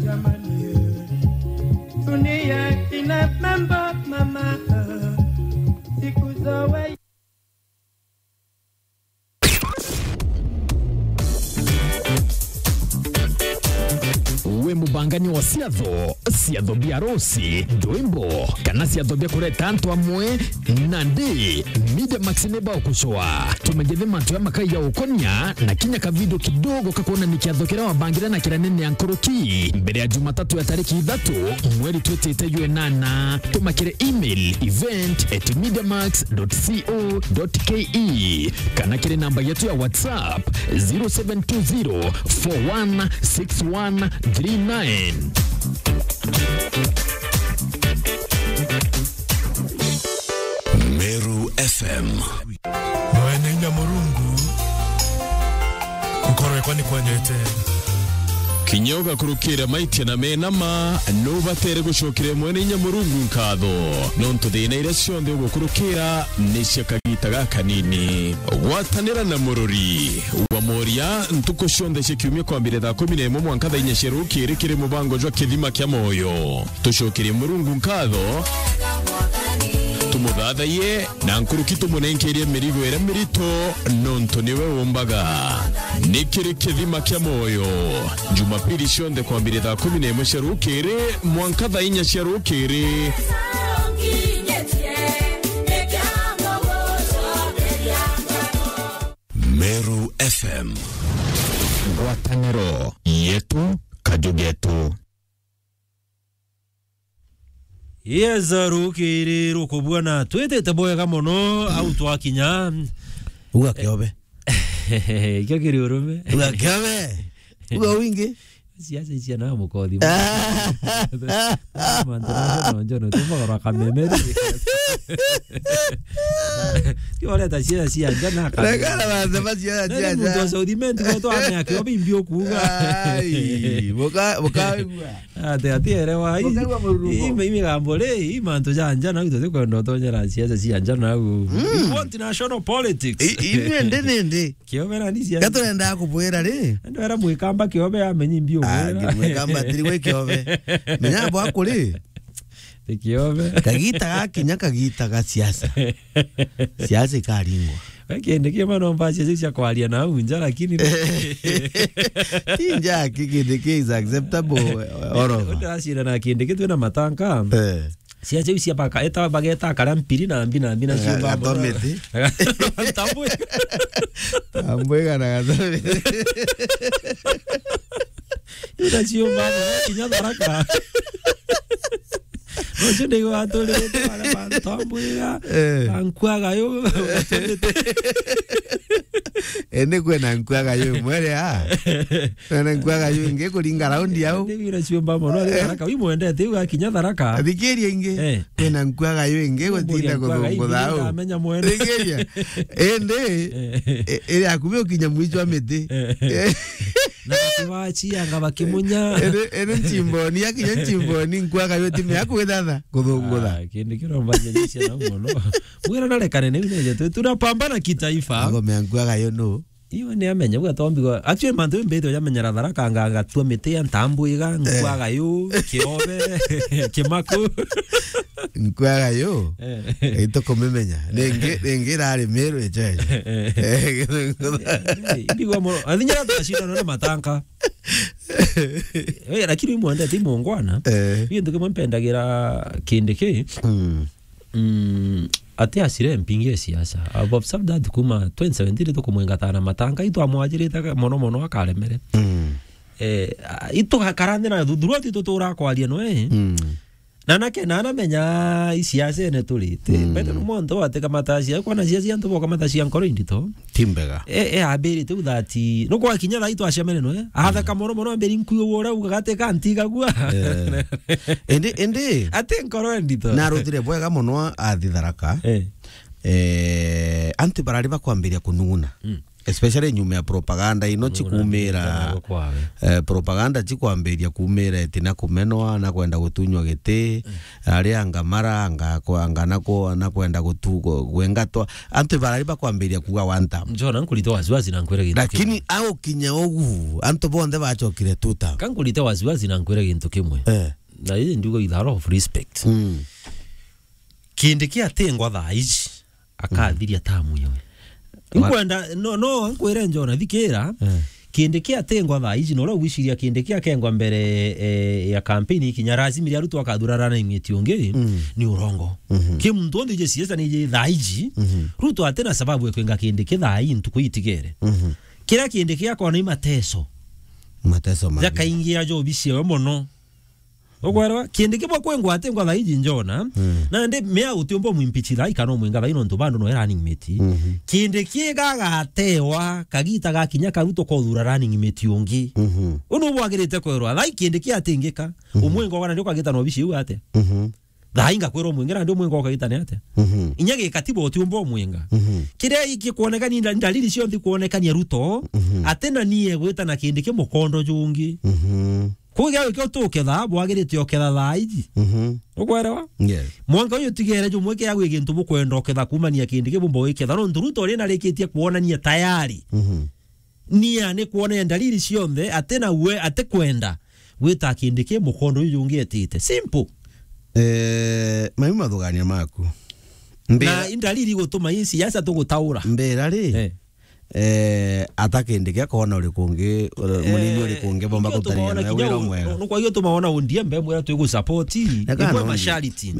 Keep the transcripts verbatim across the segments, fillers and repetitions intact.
Jamani, dunia ina mambo mama, siku zoe. We mubangani wa ciatho, ciatho bia arusi, ndwimbo, kana ciatho bia kureta antu amwe, nandi Media Max ni bagucua. Tumegethe mantu ya makai ya ukonia na kinya kavidio kidogo kakuonania kiatho kiria wabangire na kiria nene ya nkuruki mbere ya Jumatatu ya tariki ithatu mweri twitite jwa inana. Tuma kiri email event at mediamax dot co dot ke kana kiri namba yetu ya WhatsApp zero seven two zero four one six one three nine. Meru F M. Mwene inya Murungu, gukorwe kwa ni kwendete. Kinya ugakurukira maitia na mena ma, nubatere gucokeria Mwene inya Murungu nkatho, nontu thina iria cionthe ugukurukira ni cia kagita gakanini. Gwatanira na Mururi wa Moria ntuku cionthe cia kiumia kwambire thaa kumi na imwe mwanka thaa inya cia rukiri kiri mubango jwa Kithima kia Moyo. Tucokerie Murungu nkatho, tumuthathaiye, na nkuruki tumunenkerie mirigo iria mirito, nontu niwe umbaga. Ni kiri Kithima kia Moyo, Jumapili cionthe kwambire thaa kumi na imwe cia rukiri mwanka thaa inya cia rukiri. Meru F M. Ngwataniro yetu, kaju getu. Yes, rukiri rukubua na twitite bwega mono au twakinya. Uga kiobe. Ikio kiri urume. Uga kiobe. Uga wingi. Ciaca icia na mukothi. Mantu na njono, njono, tumagora kameme. Ti oreta ciaca cia nja na kameme. Rekana mantu ma ciaca cia nja. Nani muntu wa South Imenti gwe twa mea kiobe imbi ukuga. Ai, buka, buka. Ati, ati, erewa, ii, Mukaigua mururungo. Ii, ii migambo ri, ii mantu ja nja, na itu tikwenda utonyera siasa cia nja nau. Mm. You want national politics? I, inywe ndi ni ndi. Kiobe na ni cia nja. Gaturenda kubwira ri. Ndo era mwikamba kiobe amenyi mbio. Ah, mwira. Mwikamba tiri gwe kiobe. Menya bwa kuri. Ti kiobe. Kagita gakinya kagita ga siasa. Siasa ikaringwa. We Kindiki mano mbacia cia kwaria na au nja, lakini ti nja ki Kindiki is acceptable all over. Utaracira na Kindiki twina matanka. Eh. Cia ciu cia baka, eta bageta karia mpiri na mbi na mbi na ciumba. Gatomiti. Tambwe. Tambwe kana gatomiti. Ina ciumba kinya Tharaka. Ucio ndigwa aturite baria bantu ambwiga, eh, na nkuaga yu. Indi kwina nkuaga yu imwe ria. Kwina nkuaga yu ingi kuringa raundi au. Ndi wira ciumba mono, ari Tharaka, wi mwendete, iu akinya Tharaka. Thikiria ingi. Eh. Kwina nkuaga yu ingi gutinda kuthungutha au. Amenya mwene. Thikiria. Indi, eh, iri akubi ukinya mwicho wa miti. Eh. Na bakibacianga bakimunya. Ene, ene nchimboni, akinya nchimboni, nkuaga yo timu yaku githatha, kuthungutha. Ah, kindi kiromba jeje cia na mono. Mwira na rekane ni neje tu, tunapambana kitaifa. Ngome ya nkuaga yo no. Iyo ni amenya, buga tombi go. Actually, mantu mbete ya menyera Tharaka nga, ngatua miti ya ntambwiga, eh, nkuaga yo, kiobe, kimaku. Nkuaga yo. Eh. Ito kumimenya. Ringi, ringi irari Meru ejo ejo. Eh. Eh, ndigwa mono. Athinya twacindana na matanka. Eh, lakini uyu mwendete mungwana. Eh. Iyo ntu kimwe mpendagira Kindiki. Mm. Mm, ati acire mpingi ya siasa. I've observed that kuma twenty seventeen tukumwingatana na matanka, itwamwajirite mono mono akaremere. Mm. Eh, a, itugakara nthi na thuthuruo ti tutura kwaria noe. Mm. Na nake, na anamenya i siasene turite. Mm. Mbete no muntu watika matacia, kwa na siasa antu boka matacia nkoro indito. Ti mbega. E, e, ambirite u that, no kwa kinya thaa itwacemene noe. Atheka mono mono, ambiri nkuyu ura uga gatika ntigagua. Eh. Indi, indi. Ati nkoro ndito. Na arutire bwega mono athi Tharaka. Eh. Eh, antu barari bakwambiria kunung'una. Mm. Especially nyuma ya propaganda ino chikumira, eh, propaganda chikwambiria kumira eti na kumenwa, na kwenda gutunywa giti, ari anga mara, anga kwa-, anga na ku-, na kwenda gutu-, gu-, gwengatwa. Antu barari bakwambiria kuga one term. Njona, nkurite wasiwasi na nkwire gintu kimwe. Lakini au kinya ugu, antu bonthe bachokire two term. Ka nkurite wasiwasi na nkwire gintu kimwe. Eh. Na ii ndiuga with a lot of respect. Mm. Kindiki atingwa thaa ici, akathiria tamu yawe. Wa- Nkwenda, no, no, nkwire Njona, thikira. Eh. Kindiki atingwa thaa ici, na uria ugwiciria Kindiki akengwa mbere, eh, ya campaign ikinya, lazima ria Ruto akathura running mate ungi, mm, ni urongo. Mhm. Ki muntu onthe ije siasa ni ije thaa ici, mhm, Ruto atina sababu ya kwenga Kindiki thaa ii ntuku itigere. Mhm. Kiria Kindiki akona i mateso. Mateso mangi. Jakaingia jobi ciewe mono. Ukwerwa, Kindiki bwa kwengwa atingwa thaa iji Njona, mm, nandi mea utiumba umwimpeach thaa ii kana umwinga thaa ii nontu bado noe running mate. Mhm. Kindiki gagatewa, kagita gakinya ka Ruto kothura running mate ungi. Mhm. Uu niu bwagirite kwerwa, thaa ii Kindiki atingika, mhm, umwinga ugana ndio kagita na obici iu atia? Mhm. Thaa ii ngakwirwa umwinge nandi umwinga ukagita ni atia? Mhm. Inya gikatiba utiumba umwinga. Mhm. Kiria ikikwonekania nda-, ndalili cionthe ikwonekania Ruto, mhm, atina nie gwita na Kindiki mukondo jungi. Mhm. Kuu gia gwikio tuketha, bwagirite uketha thaa iji. Mhm. Ukwerewa? Yes. Mwanka uyu tigere jumwe kia gwi gintu bukwenda uketha kumania Kindiki bumba wiketha. Nontu Ruto ri narikitie kwonania tayari. Mhm. Nia ni kwonania ndalili cionthe, atina we, atikwenda gwita Kindiki mukondo uyu jungi etite. Simple. Eh, mai mathugania maku. Mbira- Na indalili gutuma ii siasa tugutaura. Mbira ri? Eh. Eh, ata Kindiki akona uriku ungi, uri-, munini uriku ungi bomba gutarigana na wira mwega. Nukwagio tuma wona O D M be mwira twigu support. Nibwe mashariti.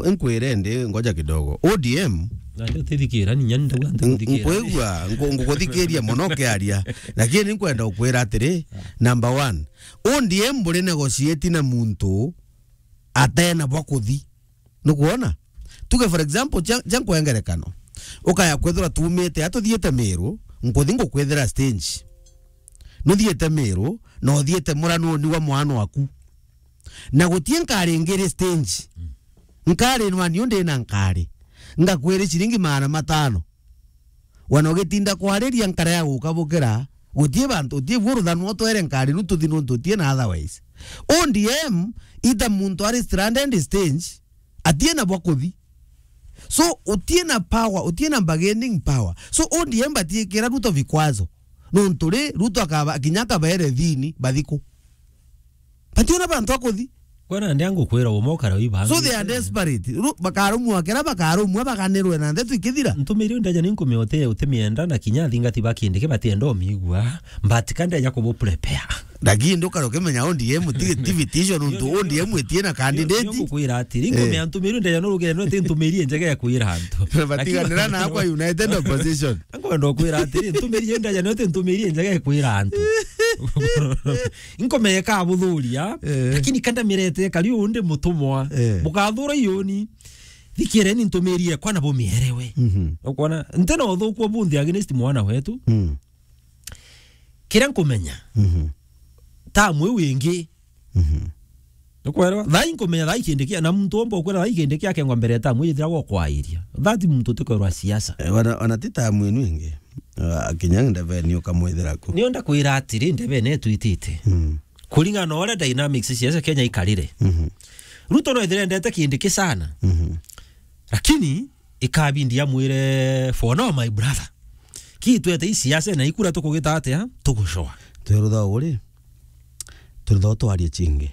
Nkwire ndi, ngoja kidogo. O D M. Na ndio tithikira, ni nyani ndawa ndio tithikira. Nkwigua, nku-, ngukuthikiria mono kiaria. Lakini nkwenda ukwira atiri, number one, O D M buri negotiate na muntu atena bwa kuthi. Nukwona? Tuge for example, ja, ja nkwengerekano. Ukaya kwethira tumite, atuthiite Miru, nkuthi ngukwethira stage. Nuthiite Miru, na uthiite Murang'a ni wa mwana waku. Na gutie nkari ngiri stage. Nkari nwani undi na nkari. Ngakwiri ciringi magana matano. Wana ugitinda kwariria nkara ya guka bukira, gutie bantu, utie buru thanu utwere nkari nu tuthi nuntu utie na otherwise. O D M, ita muntu ari stranded stage, atie na bwa kuthi. So, utie na power, utie na bargaining power. So, O D M batiikira Ruto vikwazo. Nuntu ri, Ruto akaba, kinya akabaere thini, bathiku. Bationa bantu a kuthi. Kwena ndi angukwira umo ukara wi bangi. So they are desperate. Ru-, bakarumwa kira bakarumwa baganirwe na ndeto ikithira. Ntumiri ndaja ni nkumia uti, utimienda na kinya athingati ba Kindiki batienda umigua. But ka ndeja kubu prepare. Lakini ndukara ukimenya O D M ti, ti vitisho nuntu O D M itie na candidate. Ndio, ndio ngukwira atiri, eh, nkumia ntumiri ndaja no rugendo ti ntumiri njega ya kwira antu. Batiganira na akwa United Opposition. Nkwenda kwira atiri, ntumiri ndaja no ti ntumiri njega ya kwira antu. Nkomeka buthuria, eh, lakini kanda mirete kari undi mutumwa. Eh. Bukathura ioni. Thikireni ntumiri ekwa na bumierewe. Mhm. Ukwona? Ntena uthuku bunthi against mwana wetu. Mm. Kiria nkumenya. Mhm. Tamu iu ingi. Mhm. Nukwelewa? Thai nkumenya thai Kindiki, na muntu omba ukwira thai Kindiki akengwa mbere ya tamu ithira gwa kwairia. That muntu utikwirwa siasa. Eh, wana, wana ti tamu inu ingi. Ah, kinya ndebeni ukamwithira ku. Nio ndakwira atiri, ndebeni etwitite. Mm. Kuringana na uria dynamics cia siasa Kenya ikarire. Mhm. Ruto no ethire endete Kindiki sana. Mhm. Lakini ikabindi amwire, "For now, my brother, ki twete i siasa na ikura tukugita atia, tugucoa." Twerutha uri, twerutha twarie chingi.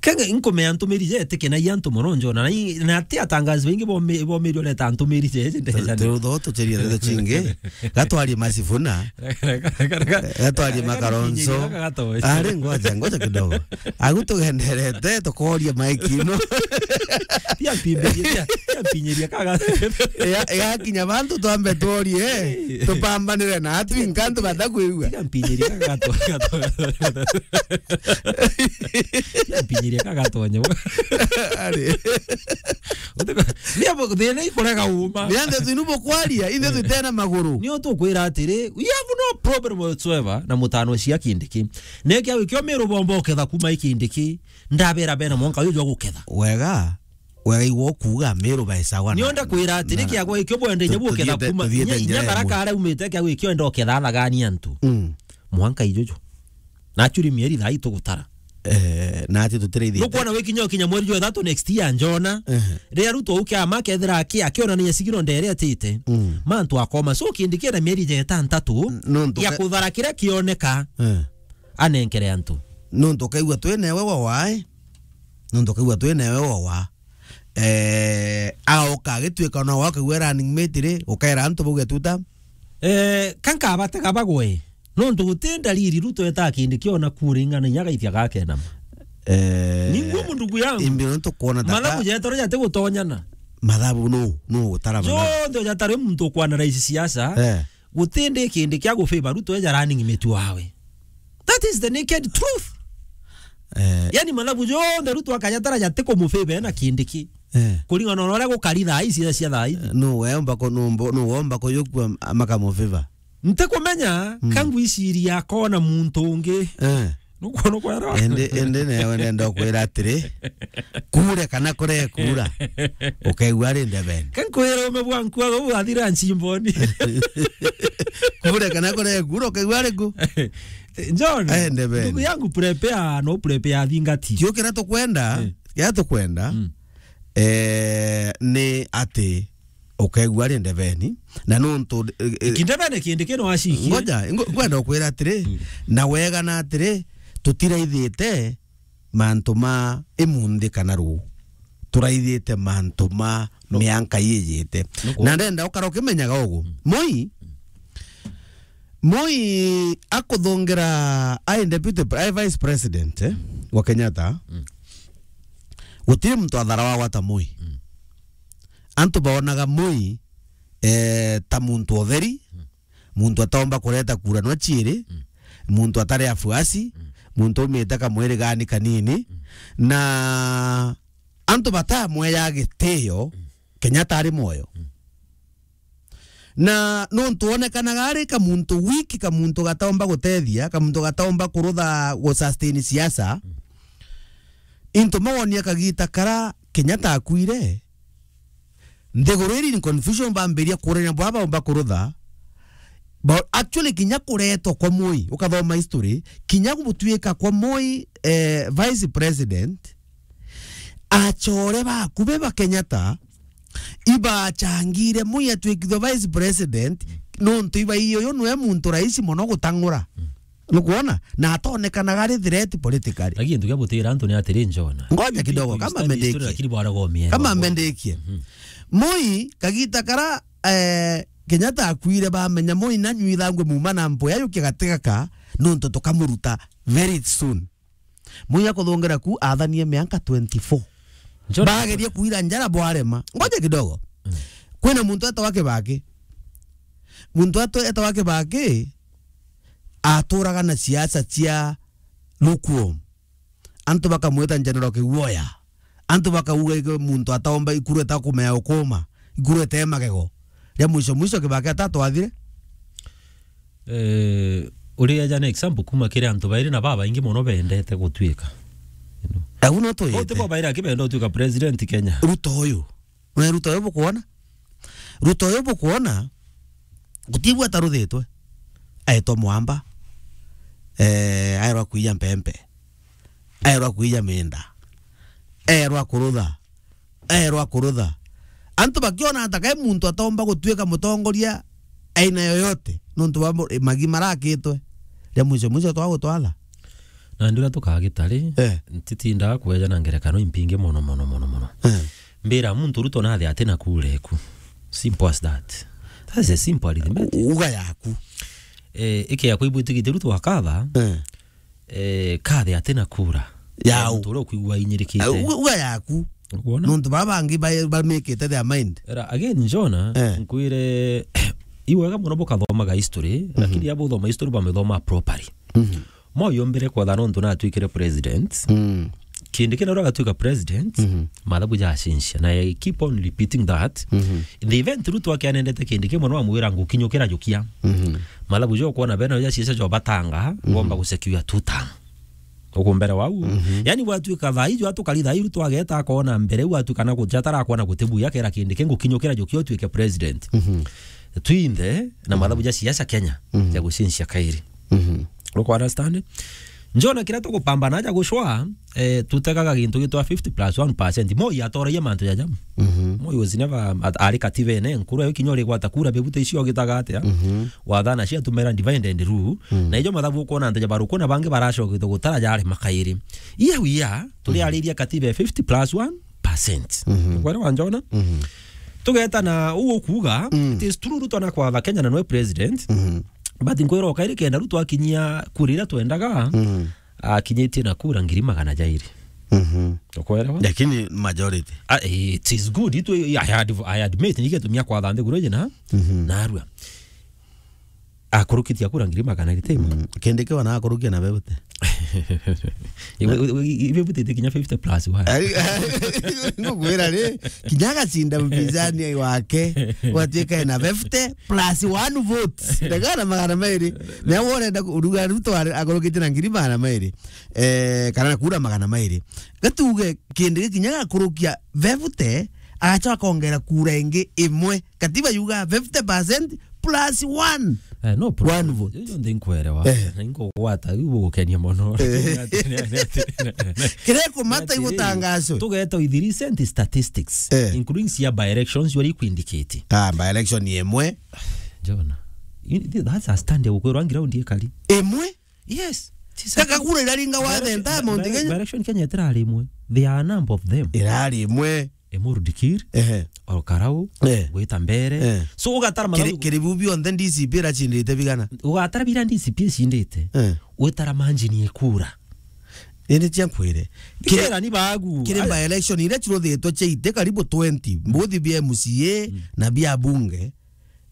Kenge nkumea ntumiri je etike na antu mono Njona, na i-, na ati atangazi baingi bomi-, bomirio leta ntumiri je, je ndeja. Twerutha tucherie ndeto chingi. Gatwarie Masifuna. Gatwarie Makaronzo. Ari, ngoja, ngoja kidogo. Agu tugenderete, tukoria maiki ino. Tia mpimbirie, tia, tia mpinyiria kaga. Ya, yakinya bantu twambe tuorie, eh, tupambanire na atu inkantu batakwigua. Tia mpinyiria kaga to, kaga to. Tia mpinyiria kaga to nyo. Ari. Nia bo, thina ikurega uma. Ni anthe tu nubo kwaria, inthe tu tena maguru. Nio tukwira atiri, we have no problem whatsoever na mutano cia Kindiki. Nekia wikio miru bomba uketha kuma i Kindiki. Ndabera bena mwanka uyu jwa guketha. Wega, Wega igwo kuuga Meru bae sawa na, nionda kwira atiri, na kiagwa ikio bwende tu-, nyebu uketha tuthie-, kuma. Tuthie Inya, inya njira Tharaka imwe. Aria umite kiagwa ikio enda uketha thagania antu. Mm. Mwanka ijuju. Na actually mieri thaa itugutara. Eh, na ati tutiraithite. Nukwona wikinya ukinya mweri jwa ithatu next year njona. Ehe. Riria Ruto uke ama kethira aki-, akionania sigino ndere atite. Mm. Mantu akoma. So Kindiki ena mieri ja itantatu N-, nontu ya ke- kuthara kiria kioneka. Eh. Anenkere antu. Nontu ukaigua twi newe wa wae. Nontu ukaigua twi newe wa wa. Eh, aoka agituika ona wakaigua running mate ri, ukaera antu bauge tuta. Eh, kankabatega bagwe. Nontu guti ndariri Ruto eta Kindiki ona kuringana inya gaithia gakena. Eh, ni ngumu ndugu yangu. Imbi nontu kuona ta mathabu ka- jetoro jati gutonyana. Mathabu no, no gutara mathabu. Jonthe jatari muntu kwana raisi siasa. Eh. Guti ndi Kindiki agufavor Ruto eja running mate wawe. That is the naked truth. Eh. Yani mathabu jonthe Ruto akajatara jati kumufavor ena Kindiki. Eh. Kuringana na uria gukari thaa ici cia thaa ici. Eh, no wemba ko, no mbo-, no womba ko yokua makamufavor. Ntikumenya, mm, ka ngwiciria akona muntu ungi. Eh. Nukwona kwera? Indi, indi newe nenda kwira atiri, kure kana kure kura, ukaigua ari ndebeni. Ka nkwira ume bwa nkua guu athira nchimboni. Kure kana kure kura, ukaigua ari ku? John, eh, ndebeni. Ndugu yangu, prepare, no prepare thingati. Tio kira tukwenda, eh, kira tukwenda, mm, eh, ni ati ukaigua ari ndebeni, na nontu, eh, eh, kindebene kindi kino acikie. Ngoja, ngo-, ngwenda ukwira atiri, mm, na wega na atiri, tutiraithite mantu ma imunthi kana ruu. Turaithite mantu ma, no, mianka ijite. Nuku. Na ndenda ukara ukimenyaga ugu. Mm. Moi, Moi akuthungira ai deputy pre-, ai vice president, eh, wa Kenyatta. Mm. Gutiri muntu athara wagwa ta Moi. Mm. Antu baonaga Moi, eh, ta muntu utheri, mm, muntu ataomba kureta kura nwa ciiri, mm, muntu atari afuasi, mm, muntu umite kamwiri gani kanini, mm, na antu batamweya gitio, mm, Kenyatta ari mwoyo. Mm. Na nontu onekanaga ari kamuntu weak, kamuntu gataomba gutethia, kamuntu gataomba kurutha gu sustain siasa, mm, into mawonia kagita kara Kenyatta akuire, nthiguru iri in confusion, bambiria kurania bwa baomba kurutha. Ba-, actually, kinya kuretwa kwa Moi, ukathoma history, kinya gutuika kwa Moi, eh, vice president, achore bakubi ba Kenyatta ibachangire Moi atwikithwe vice president, nontu iba iyo yo nwe muntu raisi mono gutang'ura. Mm. Nukwona? Na atonekanaga ari threat politically. Lakini gintu kia gutira antu ni atiri, Njona. Ngoja kidogo, kama mendekie. Lakini bwana gomie. Kama mendekie. Mhm. Moi, kagita kara, eh, Kenyatta akuire, bamenya Moi nanyuithangwe muma na mpu yayo kigatigaka, nontu tukamuruta very soon. Moi akuthungira ku athanie mianka twenty-four. Njona. Bagerie kuira njara bwarema. Ngoja kidogo. Mm. Kwina muntu etawa Kibaki. Muntu atu-, etawa Kibaki aturaga na siasa cia lukewarm. Antu bakamwita General Kiguoya. Antu bakauga iki muntu ataomba ikuru etakumea ukuma, ikuru etee magego. Ria mwisho mwisho Kibaki atatwathire. Eh, uri aja na example kuma kiri antu bairi na babaingi mono bendete gutwika. You know? Au no tuyite. Bote bo baira kibenda gutwika president Kenya. Ruto uyu. Nwe Ruto uyu bukwona? Ruto uyu bukwona, gutibua taruthitwe. Aetwa mwamba. Eh, aerwa kuiya mpempe. Aerwa kuiya minda. Aerwa kurutha. Aerwa kurutha. Antu bakiona ata kai muntu atomba gutwika mutongoria aina yoyote, nontu bwa mu-, magi marakitwe. Ria mwisho mwisho twagutwatha. Na ndira tukagita ri, eh, ntitindaga kweja na ngerekano impingi mono, mono, mono, mono. Eh. Mbira muntu Ruto nathe ati na kura eku. Simple as that. That's a simple arithmetic. U-, uga yaku. Eh, ike yakwa ibwitigite Ruto akatha. Eh. Eh, kathe ati na kura. Yau. Muntu uria ukwigua inyirikite. Eh, uga, uga yaku. Ukwona? Nontu baba bangi ba-, bamikite their mind. Era, again, Njona, eh, nkwire, iwega mono bukathomaga history, mhm, lakini abo uthoma history bamithoma properly. Mhm. Moi ombire kwatha nontu natwikire president. Mm. Kindiki na uria agatwika president, mhm, mathabu jacenjia. Na I keep on repeating that. Mhm. In the event Ruto akianendete Kindiki mono amwira ngukinyukira jukia. Mhm. Mathabu jo kwona bena ja siasa jo batanga, mhm, ngomba gusecure two term. Ukumbere wau. Mhm. Yani, gwatuika thaa ijo atukari thaa iru twageta akona mbere, gwatuika na guchatara akona gutibuya kera kindi kingukinyukira jukia utuike president. Mhm. Twinthe na mathabu ja siasa Kenya, mhm, ja gucincia kairi. Mhm. Uku understand? Njona kiria tukupambana aja gucwa, eh, tutegaga gintu gitwa fifty plus one percent. Moi atoragia mantu jaja. Mhm. Moi was never at-, ari kativene, nkuru yo kinya uri gwata kura bebute icio gitaga atia. Mhm. Wathana cia tumera divide and rule. Mhm. Na ijo mathabu ukona antu ja baruku na bangi baracokete gutara jari makairi. Iya wia, turi, mhm, ariria katiba ya fifty plus one percent. Mhm. Kwere wanjona? Mhm. Tugeta na uu ukuga, mm, it is true Ruto na kwatha Kenya na nwe president. Mhm. But nkwira ukairi kenda Ruto akinyia kura iria twendaga, mm, akinyitie na kura ngiri magana jairi. Mhm. Ukwelewa? Lakini majority. Ah, it is good. Itu, I had, I admit, nigetumia kwatha nthiguru iji na, mhm, narua. Akurukitie kura ngiri magana jairi. Mm. Kindi kiu na akurukia na bebute. Iwe, iwe, iwe, iwe butite kinya fifty plus one. Ari, ngukwira ri, kinya agacinda mpinzani wake, gwatuika ena fifty plus one votes. Ndagana magana mairi. Na urenda kuruga Ruto ari-, akorokete na ngiri magana mairi. Eh, kana na kura magana mairi. Gatuge kindi gikinya gakurukia fifty, agacoka kongera kura ingi imwe. Katiba yuga fifty percent plus one. Eh, no problem. One vote. Ijo nthi nkwelewa. Eh. Na inkugwata, iu gukenia mono. Eh. Kiria kumata igutangazo. Tugeeta with recent statistics, eh, including cia by elections, wari kwindicate. Ah, by election ni imwe. Jona. You, that's a stand ya gukwirwa ground ikari. Imwe? Yes. Kaka kura iraringa wathe nta Mount Kenya. Direction Kenya itirari imwe. There are a number of them. Irari imwe. Emuru Dikir, ehe, Ol Karau, eh, gwita mbere. Eh. So, ugatara mathabu kiri biu bionthe D C P iracindite bigana? Ugatara bira D C P icindite. Eh. Witara manjini ekura. Indi cia nkwire. Kiri, kira ni bagu. Kiri by election iria ciruthitwe ciaite karibu twenty. Mbuthi bia M C A, mm, na bia bunge.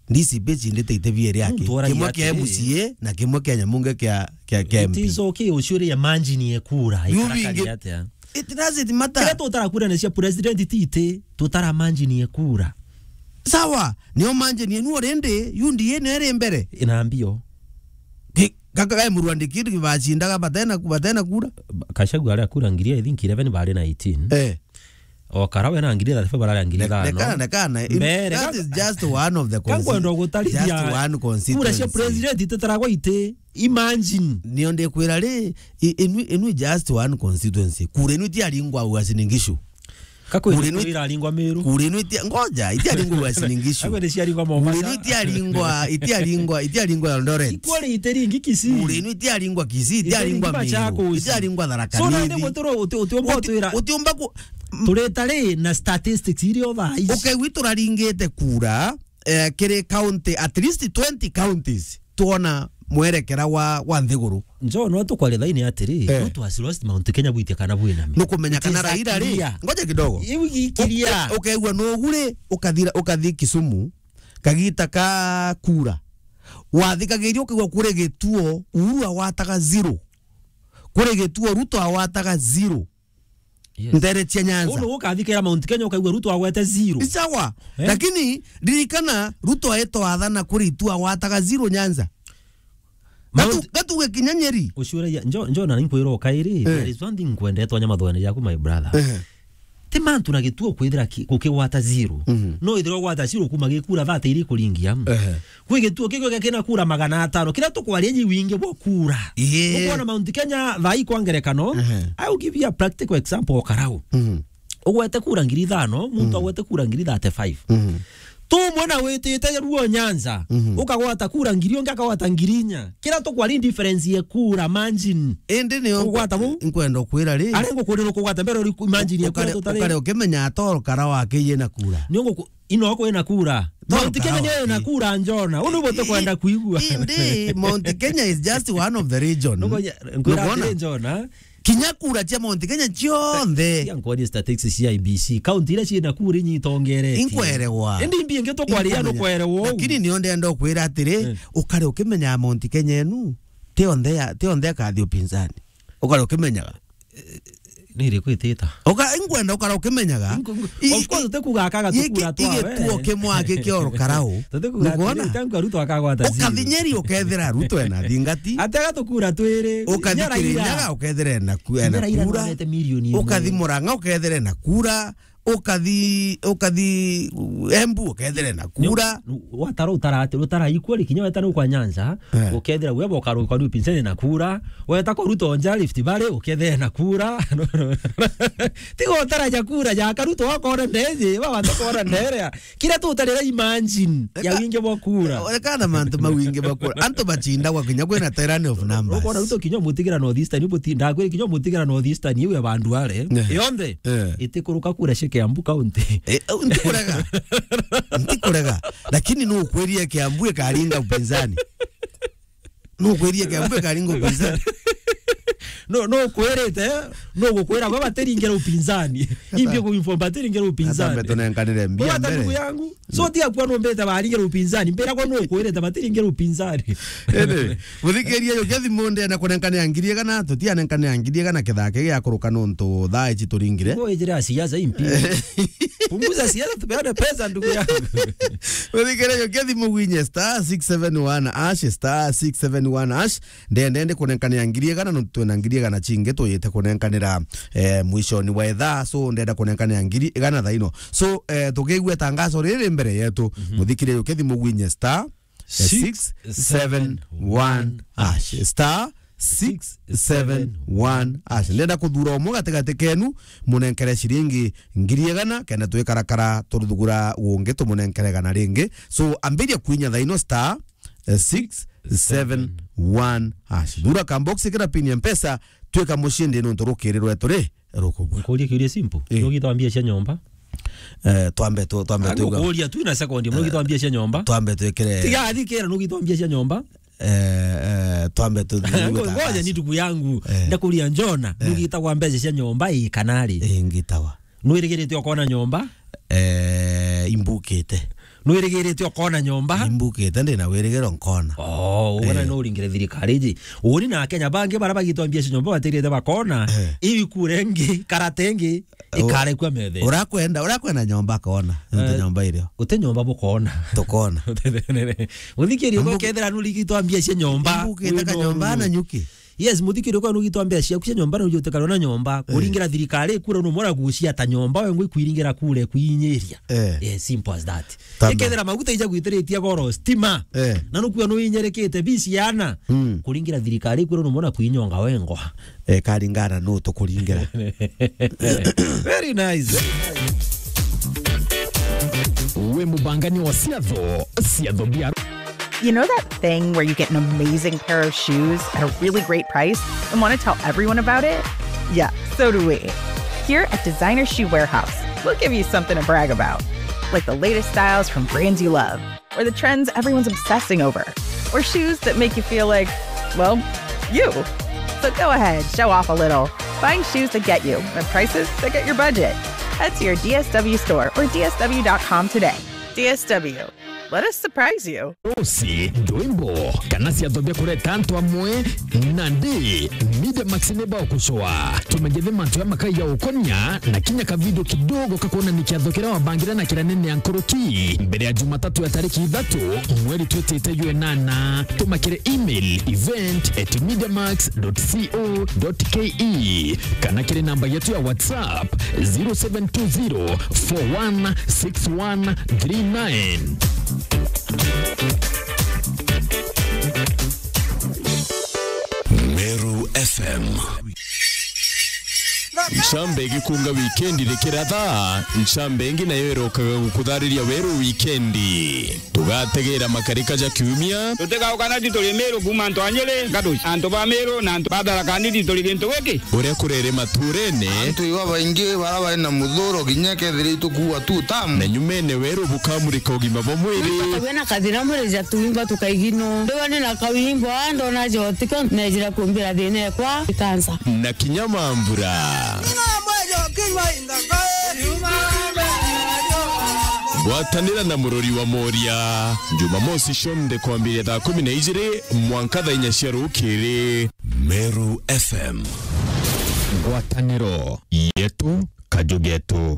D C P icindite ite bieri aki. Kimwe kia M C A na kimwe kia nyamunge kia, kia, kia M P. It is okay, uciuria manjini ekura, ikarakari atia? It doesn't matter. Kira tutara kura ni cia president titi, tutara manjini ekura. Sawa, nio manjini enu already, U D A nio iri mbere. Ina mbio. Ki-, kaka kai murwandikiri bacindaga batena, batena kura. Kashagwa aria kura ngiri, I think eleven bari na eighteen. Eh. O Karawe na ngiri thirty-five barari ngiri ithano. Nekana, nekana. Mbere, that is just one of the consti-, just one constituency. Kura cia president ititaragwa iti. Imagine. Nio ndikwira ri, i-, inu, inu just one constituency. Kura inu itiaringwa Uasin Gishu. Kakwira kura inu iraringwa Meru. Kura inu itia-, ngoja, itiaringwa Uasin Gishu. Kakwira ciaringwa Mombasa. Kura inu itiaringwa, itiaringwa, itiaringwa Eldoret. Ikwari itiringi Kisii. Kura inu itiaringwa Kisii, itiaringwa Meru, itiaringwa Tharaka Nithi. So, nandi gutiro uti-, utiumba utwira. Utiumba ku- Turita ri na statistics iria thaa ici. Ukaigua turaringite kura, eh, kiri county, at least twenty counties, twona mwerekera wa, wa nthiguru. Njo, no tukwaria thaini atiri, eh, Ruto has lost Mount Kenya bwitia kana bwina mi. Nukumenya kana Raila ri. Ngoja kidogo. Iu gikiria. Uke-, ukaigua nugu ri, ukathira, ukathi Kisumu, kagita ka kura. Wathikagiria ukaigua kuri gituo, Uhuru awataga zero. Kuri gituo, Ruto awataga zero. Yes. Ntere cia Nyanza. Unu ukathikira Mount Kenya ukaigua Ruto agwete zero. Ni sawa. Eh? Lakini ririkana Ruto aetwa athana kuri itu agwataga zero Nyanza. Gatu-, Mount- gatuge kinya Nyeri. Uciuragia, njo, njo na ninkwira ukairi, eh, there is one thing nkwendete wanya mathoene jaku, my brother. Eh. Ti mantu na gituo kwithira ki-, gukigwata zero. Mhm. No ithira ugwata zero kuma gikura thate iri kuringia. Eh. Kwi gituo kigwe kina kura magana atano. Kiria tukwaria ji wingi bwa kura. Ii. Ukwona Mount Kenya thaa ii kwa ngerekano, ehe, I will give you a practical example o Karau. Mhm. Ugwete kura ngiri ithano, muntu, mhm, agwete kura ngiri thirty-five. Mhm. Tu mwana witite ruo Nyanza, mhm, ukagwata kura ngiri, ungi akagwata ngiri inya. Kiria tukwaria difference ye kura margin. Indi ni ugwata bu? Nkwenda kwira ri. Ari ngukurira ukugwata mbere uri margin ye kura ukare, tutari. Ukare ukimenya atoro Karau akiye na kura. Ni ungu- Ino kwina kura. Mount Kenya ni na kura njona. Unu bote kwenda kuigua. Indi, Mount Kenya is just one of the region. Nuko ya, nkwira atiri njona. Kinya kura cia Mount Kenya cionthe. Ya nkwani statistics cia I B C. County iria ciina kura inyitongereti. Inkwerewa. Indi mbi ingi tukwaria nukwerewa. Lakini nio ndenda kwira atiri, eh, ukare ukimenya Mount Kenya enu. Ti onthe ya, ti onthe akathi upinzani. Ukare ukimenyaga. Ni iriku itita? Uka-, ingwenda ukara ukimenyaga. Ingu-, ingu-, I-, of course, i-, tutikuga akaga giki tukura twa we. Igituo kimwe aki kia urukarau. Tutikuga Nukwona? Atiri, tangu Ruto akagwata zero. Ukathinyeri ukethira Ruto ena thingati. Ati agatukura twiri. Ukathi Kirinyaga ukethira ena ku-, ena kura. Ukathi Murang'a ukethira ena kura. Ukathi, ukathi Embu ukethira ena kura. Watara utara ati, utara ikweri kinya weta nuka Nyanza, eh, ukethira we boka ruka ni upinzani na kura. Weta kwa Ruto nja Rift Valley, ukethira na kura. Tiga utara ja kura ja Karuto wakona ndeje, baba ndakona ndere. Kira tu utarira imagine ya wingi bwa kura. Eka-, eka na mantu ma wingi bwa kura. Antu bacindagwa kinya kwina tyranny of numbers. Ukona Ruto kinya mutigira North Eastern, ibuti-, ndakwira kinya mutigira North Eastern, iwe bandu are. Eh. Yonthe. Eh. Itikuruka kura cia Kiambu County. Eh, au ntikurega. Ntikurega. Lakini nukwirie Kiambu ikaringa upinzani. Nukwirie Kiambu ikaringa upinzani. No, no kwirite, no gukwira kwa batiringira upinzani. Imbi ku inform batiringira upinzani. Atambe tunenkanire mbia mbere. Ndugu yangu. So tiga kwa numbite baringira upinzani. Mbira kwa no kwirite batiringira upinzani. Ene, muthikiria yo kethi munde na kunenkanira ngiri igana, tutianenkanira ngiri igana kithake gia kuruka nontu thaa ici turingire. Ngo ijira siasa impi. Punguza siasa, tupeane pesa, ndugu yangu. Muthikiria yo kethi mugwinye star six seven one hash, star six seven one hash. Ndende ndi kunenkanira ngiri igana, nontu twina ngiri igana cingi tuyite kunenkanira, eh, mwishoni wa ithaa. So, ndenda kunenkanira ngiri igana thaa ino. So, eh, tukigua itangazo riri mbere yetu. Mhm. Muthikiria yo kethi mugwinye star, eh, six seven one hash. Star six seven one hash. Ndenda kuthura umwe gatigati kenu, munenkere ciringi ngiri igana, kenda twikarakara turuthugura gungi tumunenkere igana ringi. So, ambiria kwinya thaa ino star, eh, six seven one hash. Thura ka box kira pin ya Mpesa, twika mucindi nontu rukiri rwetu ri rukubua. Nkuria kiuria simple. Eh. Nugitwa mbia cia nyomba? Eh, twambe tu, twambe tu. Nkuria tu na second, eh, nugitwa mbia cia nyomba? Twambe twikire. Tiga athikira nugitwa mbia cia nyomba? Eh, eh, twambe tu. Ngo-, ngoja ni ndugu yangu. Eh. Ndakuria Njona, eh, nugitagwa mbeca cia nyomba ii kana ri? Ii, ngitawa. Nwirigirite ukona nyomba? Eh, imbukite. Nwirigirite ukona nyomba? Imbukite, ndina wirigiro nkona. Oh, uguo na, eh, no uringire thirikari iji. Uni na Akenya bangi bara bagitwa mbia cia nyomba batirite bakona. Eh. Ibi kura ingi, karata ingi, u-, ikarekua methe. Urakwenda, urakwenda nyomba kona. Nte, eh, nyomba irio. Ute nyomba bukona. Tukona. Uthikiri, ambu-, ukethira nurigitwa mbia cia nyomba. Imbukite ka nyomba na nyuki. Yes, muthikiri, kwa nugitwa mbeca ciaku cia nyomba, na ujute karona nyomba, eh, kuringira thirikari kura, no mora gucia ta nyomba, we ngwi kwiringira kure kwinyiria. Eh. Yes, simple as that. Tamba. Ikethira maguta ija gwitiritie goro, stima. Eh. Na nukua no inyerekete, bisi yana. Mm. Kuringira thirikari kura, no mora kwinyonga wengwa. Eh, karingana no tukuringira. Very nice. We mubangani wa ciatho, ciatho bia You know that thing where you get an amazing pair of shoes at a really great price and want to tell everyone about it? Yeah, so do we. Here at Designer Shoe Warehouse, we'll give you something to brag about, like the latest styles from brands you love, or the trends everyone's obsessing over, or shoes that make you feel like, well, you. So go ahead, show off a little. Find shoes that get you at prices that get your budget. Head to your D S W store or D S W dot com today. D S W. Let us surprise you. Usi, ndwimbo, kana ciatho bia kureta antu amwe, nandi, Media Max ni bagucoa. Tumegethe mantu ya makai ya ukonia, na kinya ka video kidogo ka kuonania kiatho kiria wabangire na kiria nene ya nkuruki. Mbere ya Jumatatu ya tariki ithatu, mweri twitite jwa inana, tuma kiri email event at mediamax dot co dot ke, kana kiri namba yetu ya WhatsApp, zero seven two zero four one six one three nine. Meru F M. Ncambe igikunga wikendi rikiratha, ncambe ingi nayo irokaga gukuthariria weru wikendi. Tugategera makarika ja kiumia. Tutigauka na tituri Meru kuuma antu a Nyeri, Gaduci, antu ba Meru na antu ba Tharaka Nithi turi gintu giki. Uria kurere maturene. Antu iba baingi bara bari na muthuro kinya kethira itukuua tu tamu. Na nyumene weru bukamurika ugima bwa mwiri. Wina kathina mwiri ja tuimba tukaigino. Ndiwa ni na kawimbo, ndona jotiko, nejira kumbira thina ekwa ikansa. Na kinya mambura. Gwatanira na murori wa Moria, Jumamosi cionthe kwambiria thaa kumi na ijiri mwanka thaa inya cia rukiri. Meru F M. Ngwataniro yetu, kaju getu.